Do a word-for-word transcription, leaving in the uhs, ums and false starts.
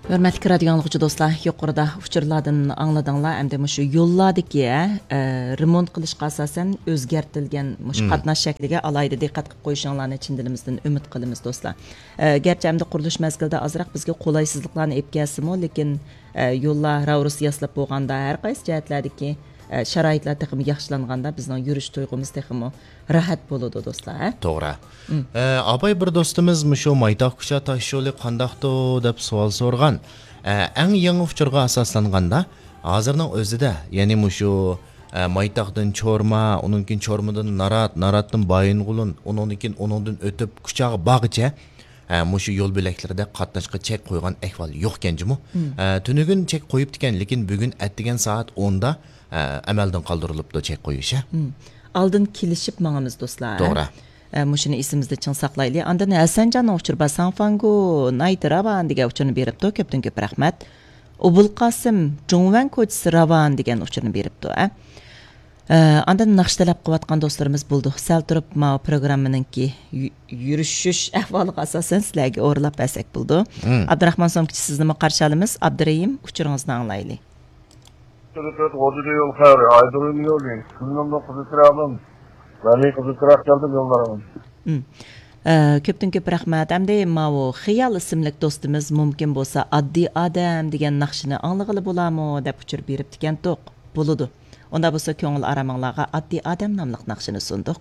ھۆرمەتلىك رادىيو ئاڭلىغۇچى دوستلار، يۇقىرىدا ئۇچۇرلاردىن ئاڭلىدىڭلار. ئەمدى مۇشۇ يوللاردىكى، ئە، رېمونت قىلىشقا ئاساسەن ئۆزگەرتىلگەن مۇشۇ قاتناش شەكلىگە ئالاھىدە دىققەت قىلىپ قويۇشۇڭلارنى چىن دىلىمىزدىن ئۈمىد قىلىمىز، دوستلار. ئە، گەرچە ئەمدى قۇرۇلۇش مەزگىلىدە ئازراق بىزگە قولايسىزلىقلارنى ئېلىپ كەلسىمۇ، لېكىن، ئە، يوللار راۋۇرۇس ياسىلىپ بولغاندا، ھەر قايسى جەھەتلەردىكى، ئە، شارائىتلار تېخىمۇ ياخشىلانغاندا، بىزنىڭ يۈرۈش تۇيغۇمىز تېخىمۇ راھەت بولىدۇ، دوستلار، ھە؟ توغرا. ئە، ئاپاي، بىر دوستىمىز مۇشۇ مايتاق كۇچا تاش يولى قانداقتۇ دەپ سوئال سورىغان. ئە، ئەڭ يېڭى ئۇچۇرغا ئاساسلانغاندا، ھازىرنىڭ ئۆزىدە، يەنى مۇشۇ، ئە، مايتاقتىن چورما، ئۇنىڭدىن كېيىن چورمىدىن نارات، ناراتتىن بايىنغولىن، ئۇنىڭدىن كېيىن ئۇنىڭدىن ئۆتۈپ كۇچاغا بارغىچە، ئە، مۇشۇ يول بۆلەكلىرىدە قاتناشقا چەك قويغان ئەھۋال يوقكەن جۇمۇ. ئە، تۈنۈگۈن چەك قويۇپتىكەن، لېكىن بۈگۈن ئەتىگەن سائەت ئوندا، ئە، ئەمەلدىن قالدۇرۇلۇپتۇ چەك قويۇش، ھە؟ ئالدىن كېلىشىپ ماڭىمىز، دوستلار، ھە؟ توغرا. ئە، مۇشۇنى ئېسىمىزدە چىڭ ساقلايلى. ئاندىن ھەسەنجاننىڭ ئۇچۇرى بار، ساڭفاڭگو نايتى راۋان دېگەن ئۇچۇرنى بېرىپتۇ. كۆپتىن كۆپ رەھمەت. ئوبۇلقاسىم جۇڭۋەن كوچىسى راۋان دېگەن ئۇچۇرنى بېرىپتۇ، ھە؟ ئە، ئاندىن ناخشا تەلەپ قىلىۋاتقان دوستلىرىمىز بولدى. سەل تۇرۇپ ماۋۇ پروگراممىنىڭكى يۈ-، يۈرۈشۈش ئەھۋالىغا ئاساسەن سىلەرگە ئورۇنلاپ بەرسەك بولىدۇ. ئابدۇراخمان سومكىچى، سىزنىمۇ قارشى ئالىمىز. ئابدۇرېھىم، ئۇچۇرىڭىزنى ئاڭلايلى. تۆت غوجىدا يول خەير، ئايدۇرۇم يولى، كۈنۈمنىڭ قىزىل چىراغىدىن، ۋەلى قىزىل چىراغ كەلدىم يوللارغا. ئە، كۆپتىن كۆپ رەھمەت. ئەمدى ماۋۇ خىيال ئىسىملىك دوستىمىز مۇمكىن بولسا ئاددىي ئادەم دېگەن ناخشىنى ئاڭلىغىلى بولامۇ دەپ ئۇچۇر بېرىپتىكەنتۇق. بولىدۇ. ئۇنداق بولسا كۆڭۈل ئارامىڭلارغا ئاددىي ئادەم ناملىق ناخشىنى سۇندۇق.